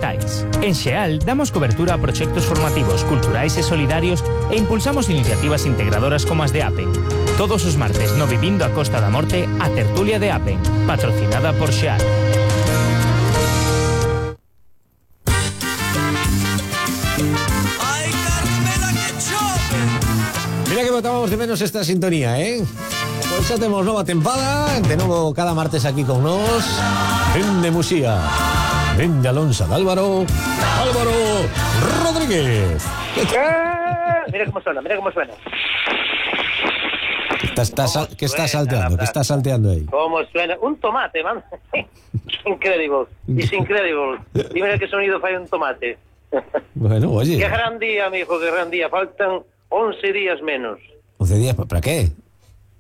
dixitais. En Xeal damos cobertura a proxectos formativos, culturais e solidarios e impulsamos iniciativas integradoras como as de Apen. Todos os martes no Vivindo a Costa da Morte, a tertulia de Apen, patrocinada por Xeal. Mira que botábamos de menos esta sintonía, Pois xa temos nova tempada, de novo cada martes aquí con nos. Vende Musía, vende Alonso de Álvaro Rodríguez. Mira cómo suena. ¿Qué estás salteando? ¿Qué estás salteando ahí? ¿Cómo suena? Un tomate, man. Incredible. Y mira qué sonido fai un tomate. Bueno, oye. Qué gran día, mi hijo, qué gran día. Faltan 11 días menos. 11 días, ¿para qué?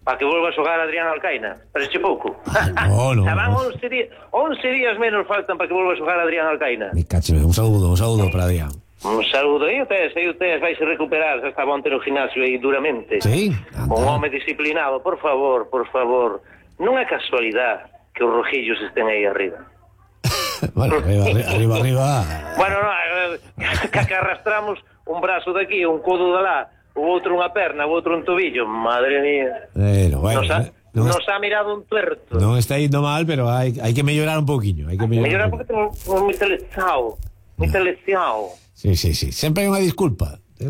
Para que vuelva a xogar Adrián Alcaina. Parece pouco. No. Van 11 días menos faltan para que vuelva a xogar Adrián Alcaina. Mi cacho, un saludo para Adrián. Un saludo. E ustedes vais a recuperar. Está onte no gimnasio aí duramente. Sí. Un home disciplinado, por favor. Non é casualidade que os rojillos estén aí arriba. Bueno, arriba. Bueno, que arrastramos un brazo de aquí, un codo de lá, o outro unha perna, o outro un tobillo. Madre mía. Bueno, nos ha mirado un tuerto. No está yendo mal, pero hay que mejorar un poquinho. Mejorar porque tenemos moi teleciao. Sí. Sempre hai unha disculpa. Que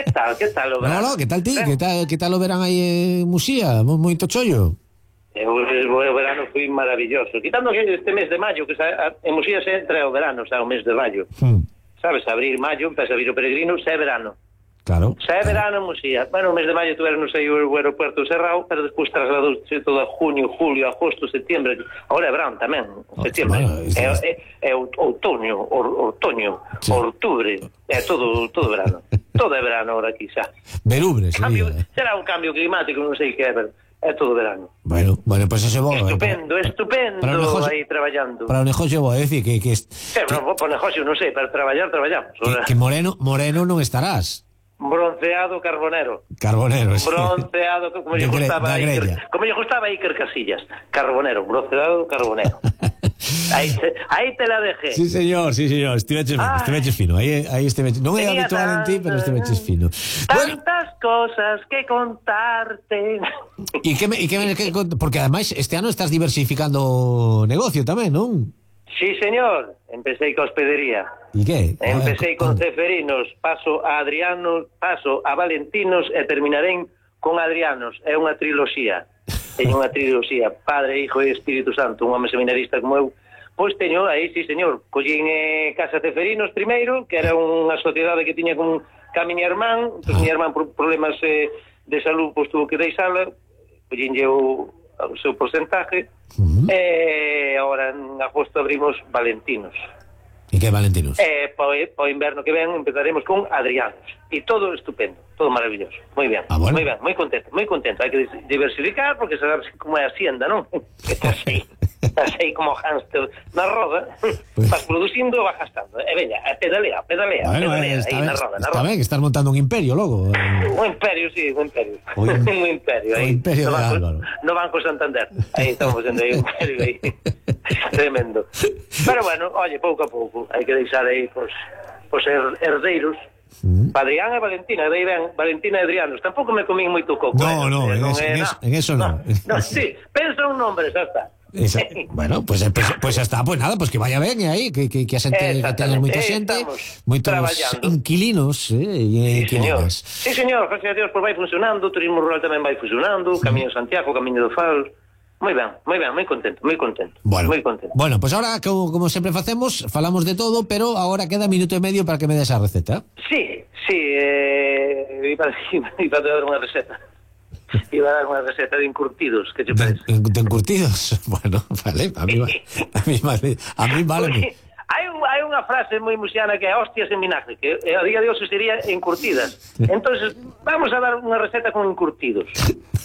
tal o verán? No, que tal ti? Que tal o verán aí en Musía? Moito chollo. O verano foi maravilloso. Quitando que este mes de maio, que en Musía se entra o verano, o mes de maio. Sabes, abril, maio, empeza a vir o peregrino, se é verano. Claro. Se é verano en Musía. Bueno, o mes de maio tuveron aí o aeropuerto cerrado, pero despois trasladouse todo a junio, julio, agosto, setembro. Agora é verano tamén, setembro. É outoño, sí. Outubro, é todo verano. Todo é verano ahora aquí, xa. Verubre, será un cambio climático, non sei que é, pero é todo verano. Bueno, pues eso é bo. Estupendo, aí traballando. Para o negocio vou decir que no, para o negocio non sei, para traballamos. Que moreno non estarás. Bronceado carbonero, sí. Bronceado, como lle gustaba a Iker Casillas. Bronceado carbonero. Aí te la dejé. Sí, señor. Estiveches fino. Aí estiveches. Non é habitual en ti, pero estiveches fino. Tantas cosas que contarte. Porque ademais este ano estás diversificando o negocio tamén, non? Sí, señor. Empecé con hospedería. ¿Y qué? Empecé con Ceferinos, paso a Adrianos, paso a Valentinos e terminaré con Adrianos. É unha triloxía. Teño unha triloxía. Padre, Hijo e Espírito Santo. Un home seminarista como eu. Pois teño aí, sí, señor. Collín Casa Ceferinos primeiro, que era unha sociedade que tiña con miña irmán. Miña irmán por problemas de salud, pois tuvo que deixala. Collínlle o seu porcentaje. E agora en agosto abrimos Valentinos. E que Valentinos? Para o inverno que ven empezaremos con Adrianos. E todo estupendo, todo maravilloso. Moi ben, bueno. Moi ben, moi contento. Hai que diversificar porque sabes como é a hacienda, non? Estás aí como hámster na roda, vas producindo, vas gastando. E veña, pedalea, bueno, aí na roda. Está ben, que estás montando un imperio logo. Un imperio, sí, un imperio. Un imperio aí. Un imperio de Álvaro. No Banco Santander. Aí estamos vendo aí un imperio aí. Tremendo. Pero bueno, oye, pouco a pouco hai que deixar aí os herdeiros. Adrián e Valentina, dai ben, Valentina e Adrianos. Tampouco me comín moito coco. No, en eso no. No, sí, pensa un nombre, xa está. Bueno, pues xa está, pues nada, pues que vaya ben aí, que a xente, que teñas moita xente, moitos inquilinos e inquilinas. Sí, señor, gracias a Dios, pues vai funcionando, o turismo rural tamén vai funcionando, Camiño de Santiago, Camiño do Faro. Moi ben, moi contento. Bueno, pues ahora, como sempre facemos, falamos de todo, pero ahora queda minuto e medio para que me des a receta. Sí, iba a dar unha receta. Iba a dar unha receta de encurtidos, que te parece? De encurtidos? Bueno, vale, a mí vale. Hai unha frase moi musiana que é hostias en vinagre, que a día de hoxe sería encurtidas. Entonces, vamos a dar unha receta con encurtidos.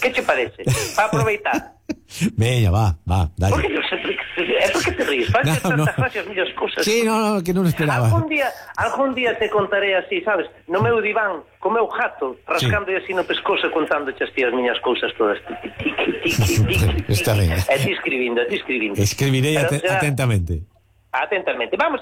Que te parece? Para aproveitar. Veña, va, dale. Por que te ríes? Parece tantas gracias, millas cosas. Sí, no, que non esperaba. Algún día te contaré así, sabes, no meu diván, co meu gato, rascando así no pescozo, contando as tías miñas cousas todas. Está ben. E ti escribindo. Escribirei atentamente. Vamos a